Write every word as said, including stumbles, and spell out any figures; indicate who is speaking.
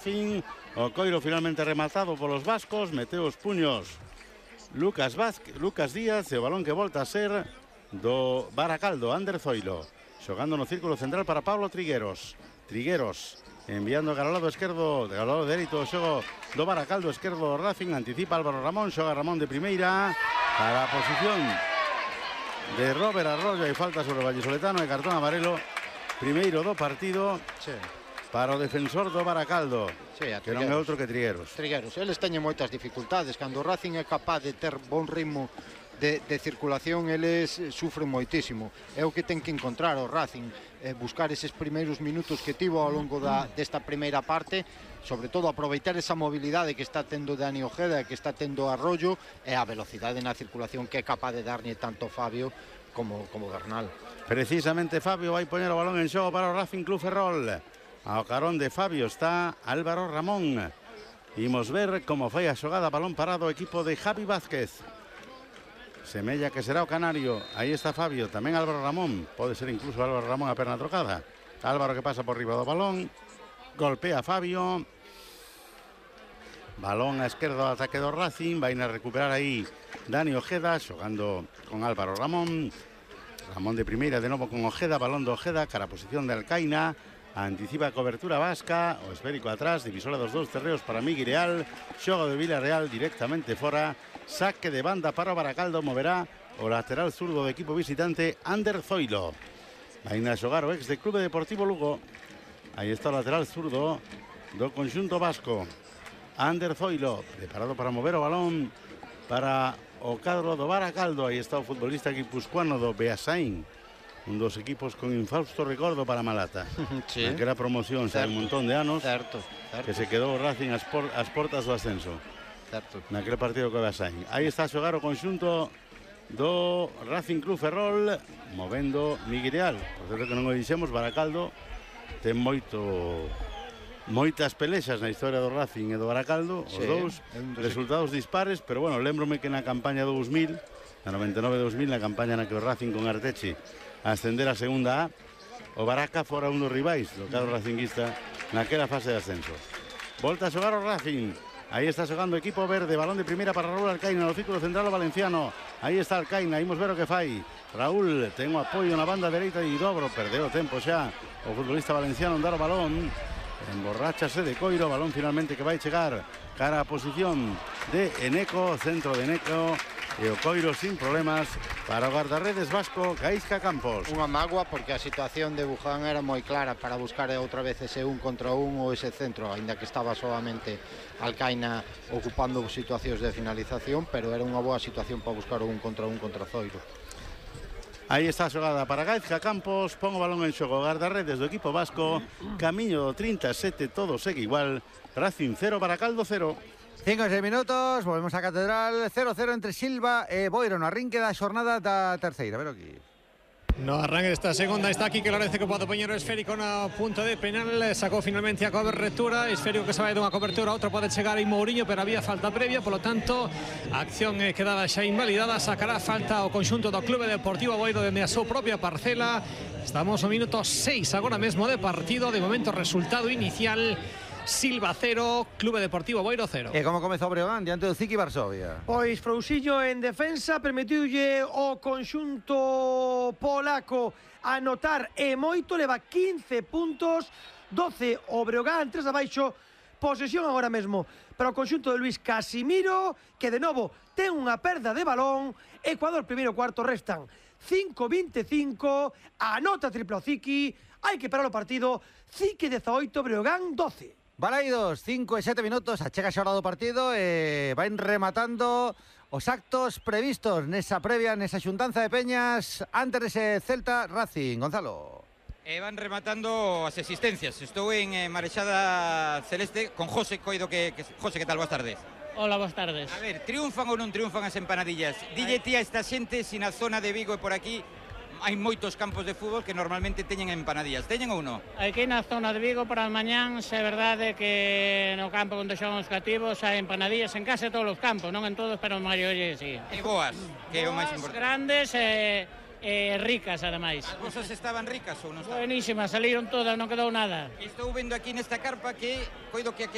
Speaker 1: Fin, o coiro finalmente rematado polos vascos, meteu os puños Lucas Vázquez, Lucas Díaz, e o balón que volta a ser do Baracaldo, Ander Zoilo, xogando no círculo central para Pablo Trigueros. Trigueros enviando ao lado esquerdo, ao lado dereito o xogo do Baracaldo, esquerdo Racing, anticipa Álvaro Ramón, xoga Ramón de primeira para a posición de Robert Arroyo, e falta sobre o vallisoletano e cartón amarelo, primeiro do partido. Sí. Para o defensor do Baracaldo, sí, que non é outro que Trigueros.
Speaker 2: Trigueros, eles teñen moitas dificultades. Cando o Racing é capaz de ter bon ritmo de, de circulación, eles sufren moitísimo. É o que ten que encontrar o Racing, eh, buscar eses primeiros minutos que tivo ao longo da, desta primeira parte, sobre todo aproveitar esa mobilidade que está tendo Dani Ojeda, que está tendo Arroyo, e a velocidade na circulación que é capaz de darlle tanto Fabio como, como Bernal.
Speaker 1: Precisamente Fabio vai poñer o balón en xogo para o Racing Club Ferrol. Ao carón de Fabio está Álvaro Ramón. Imos ver como foi a xogada, balón parado o equipo de Javi Vázquez. Semella que será o canario. Aí está Fabio, tamén Álvaro Ramón. Pode ser incluso Álvaro Ramón a perna trocada. Álvaro que pasa por riba do balón, golpea Fabio. Balón a esquerda do ataque do Racing. Vai a recuperar aí Dani Ojeda, xogando con Álvaro Ramón. Ramón de primeira, de novo con Ojeda, balón do Ojeda, cara a posición de Alcaina. Anticipa a cobertura vasca, o esférico atrás, divisora dos dous terreos para Miguel Real, xogo de Villarreal directamente fora, saque de banda para o Baracaldo, moverá o lateral zurdo do equipo visitante Ander Zoilo. Vai a xogar o ex de Clube Deportivo Lugo. Aí está o lateral zurdo do conxunto vasco, Ander Zoilo, preparado para mover o balón para o cadro do Baracaldo. Aí está o futbolista guipuscoano do Beasaín, un dos equipos con infausto recordo para Malata. Sí. Naquela promoción xa hai un montón de anos, certo, certo, que se quedou o Racing as, por, as portas do ascenso. Certo. Naquele partido que Beasaín. Aí está a xogar o conxunto do Racing Club Ferrol, movendo Miguel Real. Por certo que non o dixemos, Baracaldo ten moito moitas pelexas na historia do Racing e do Baracaldo, os sí, dous resultados dispares, pero bueno, lembrome que na campaña do dous mil, na noventa e nove dous mil, na campaña na que o Racing con Arteche a ascender a segunda A, o Baraca fora un dos rivais do cadro racinguista naquela fase de ascenso. Volta a xogar o Racing. Aí está xogando o equipo verde, balón de primeira para Raúl Alcaina no círculo central o valenciano. Aí está Alcaina, imos ver o que fai. Raúl ten o apoio na banda dereita e dobro, perdeu o tempo xa o futbolista valenciano en dar o balón. Emborráchase de coiro, balón finalmente que vai chegar cara a posición de Eneco, centro de Eneco, e o coiro sin problemas para o guardarredes vasco Gaizka Campos.
Speaker 2: Unha mágoa porque a situación de Buján era moi clara para buscar outra vez ese un contra un ou ese centro, aínda que estaba solamente Alcaina ocupando situacións de finalización, pero era unha boa situación para buscar o un contra un contra Zoiro.
Speaker 1: Aí está a xogada para Gaizka Campos, pon o balón en xogo, guardarredes do equipo vasco, camiño do trinta e sete, todo segue igual, Racing cero, Baracaldo cero.
Speaker 3: cinco e seis minutos, volvemos a Catedral, cero cero entre Silva e Boiro no arrinque da xornada da terceira. A ver aquí.
Speaker 4: No arranque desta segunda está aquí que Lorenzo que pode poñer o esférico na punta de penal, sacou finalmente a cobertura, esférico que se vai dunha cobertura, outro pode chegar aí Mourinho, pero había falta previa, polo tanto a acción quedaba xa invalidada, sacará falta o conxunto do Clube Deportivo Boiro dende a súa propia parcela. Estamos no minuto seis agora mesmo de partido, de momento resultado inicial Silva cero, Clube Deportivo Boiro cero.
Speaker 3: E como comezou o Breogán diante do Ziki Varsovia?
Speaker 5: Pois Frousiño en defensa permitiulle o conxunto polaco anotar e moito, leva quince puntos, doce o Breogán, tres abaixo, posesión agora mesmo para o conxunto de Luis Casimiro, que de novo ten unha perda de balón. Ecuador primeiro cuarto, restan cinco vinte e cinco, anota triplo Ziki, hai que parar o partido, Ziki dezaoito, Breogán doce.
Speaker 3: Balaidos, cinco e sete minutos, achega xa hora do partido e van rematando os actos previstos nesa previa, nesa xuntanza de peñas antes dese Celta Racing. Gonzalo.
Speaker 6: E van rematando as existencias. Estou en eh, Marexada Celeste con José Coido. que, que José, que tal? Boas tardes.
Speaker 7: Hola, boas tardes.
Speaker 6: A ver, triunfan ou non triunfan as empanadillas? Dille ti a esta xente se na zona de Vigo e por aquí hai moitos campos de fútbol que normalmente teñen empanadillas. Teñen ou non?
Speaker 7: Aquí na zona de Vigo para mañán, se é verdade que no campo onde xogan os cativos hai empanadillas en case todos os campos, non en todos, pero en maioría sí.
Speaker 6: E boas, que é o máis importante.
Speaker 7: Grandes e eh, ricas, ademais.
Speaker 6: As vosas estaban ricas ou non estaban?
Speaker 7: Buenísimas, saliron todas, non quedou nada.
Speaker 6: Estou vendo aquí nesta carpa que coido que